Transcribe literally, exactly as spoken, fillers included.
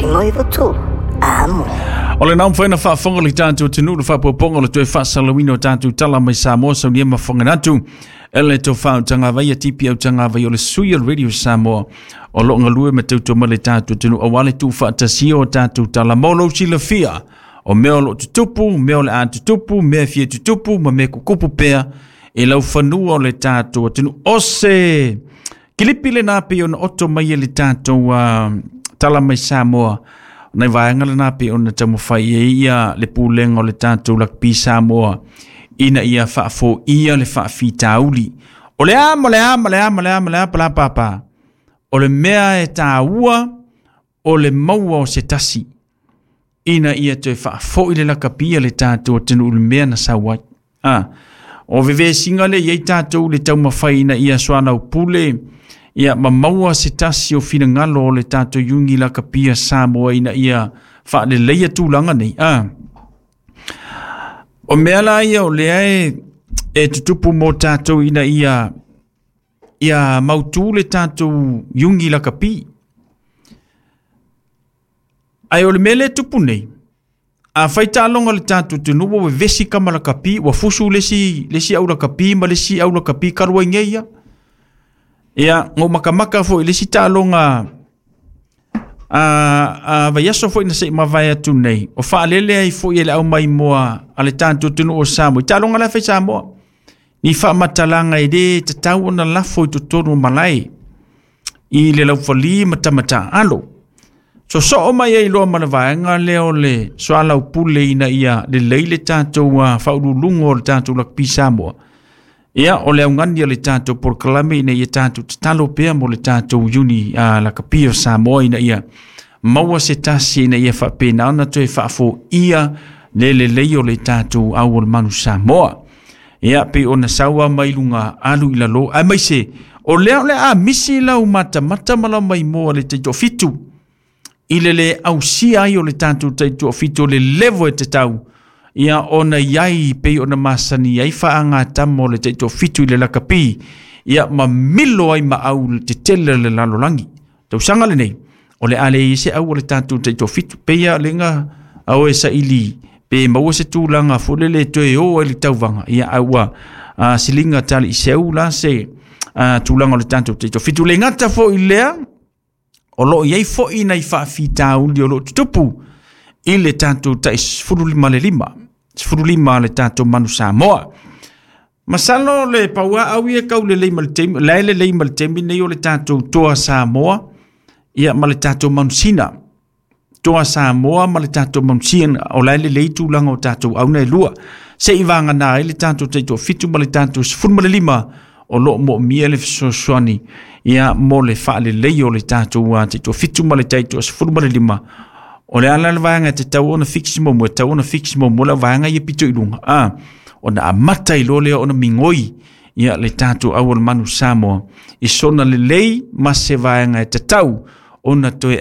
Sinoiva tu. Amo. O le nau whaina whaafonga le tātou te nuu le whaapoponga le toe whaasalawina o tātou tala mai Samoa saunia mafonga natu. Ele tō whau tanga vai a tipi au tanga vai o le sui o le Radio Samoa o lo ngalue me tauto ma le tātou te nuu awale tū whaatasia o tātou tala mōlou silafia. O mea o lo tutupu, mea o le a tutupu, mea fia tutupu, ma mea kukupu pea e lau fanua o le tātou te nuu ose. Kilipi le nā pe ona oto mai e le tātou uh, tala mai Samoa. Nei vaega lena pe ona taumafai ai ia le pulega o le tatou lakapi Samoa ina ia faafoia le faafitauli. O le a ma le a ma le a ma le a ma le a palapapa. O le mea e tāua o le maua o se tasi. Ina ia toe faafoi le lakapi a le tatou atunuu i le mea na sau ai. Ah, o vevesiga le iai tatou le taumafai ina ia soalaupule ia ma maua se tasi o finagalo o le tatou iugi lakapia Samoa ina ia faaleleia tulaga nei. Ah. O mea la ia o lea e, e tutupu mo tatou ina ia ia mautū le tatou iugi lakapi. Ae o le mea lea e tupu nei, a fai taaloga le tatou atunuu ua vevesi kama lakapi, ua fusu le isi, le isi au lakapi ma le isi au lakapi kalu ai nei ia. Ia, ngou makamaka foi le isi taaloga a, a vaiaso foi na se'i mavae atu nei. O faalele ai foi e le au maimoa a le tatou atunuu o Samoa. I taaloga la e fai Samoa. Ni faamatalaga e lē tatau ona lafo i totonu o malae. I le laufali ma tamataaalo. Sosoo mai ai loa ma le vaega lea o le soalaupule ina ia lelei le tatou uh, faauluuluga o le tatou lakapi Samoa. Ia, o le augani o le tatou polokalame ina ia tatou tatalo pea mo le tatou iuni uh, lakapi o Samoa ina ia maua se tasi ina ia faapena ona toe faafoia le lelei o le tatou au o le manu Samoa. Ia, pe ona saua mai luga alu i lalo. Ae mai se, o lea o le a misi lau matamata ma lau maimoa le taitoafitu. I le le ausia ai o le tatou taitoafitu o le levo e tatau. Ia ona iai pei ona masani ai faagatama o le taitoafitu i le lakapi. Ia ma milo ai ma au le tetele le lalolagi. Tausaga lenei, o le a leai se au o le tatou taitoafitu. Peia lenga au e saili pe maua se tulaga foi lele toe o ai le tauvaga. Ia a ua uh, siliga tali i seu la se uh, tulaga o le tatou taitoafitu. Le gata foi lea, o loo iai foi nai faafitauli o loo tutupu i le tatou tai sefulu lima le lima. Sefulu lima le tatou manu Samoa. Masalo le paua au ia kau lelei ma le taimi, la e lelei ma le taimi nei o le tatou toa Samoa, ia ma le tatou manusina. Toa Samoa ma le tatou manusina, o la e lelei tulaga o tatou auna e lua. Se i vagana ai le tatou taitoafitu ma le tatou sefulu ma le lima, o loo moomia le fesoasoani ia mo le faalelei o le tatou uh, taitoafitu ma le taitoasefulu ma le lima. O le ala le vaega e tatau ona fix muamua, e tatau ona fix muamua le vaega ia pito i luga. Ah, ona amata i loa lea ona migoi ia le tatou au o le manu Samoa i sona lelei ma se vaega e tatau ona toe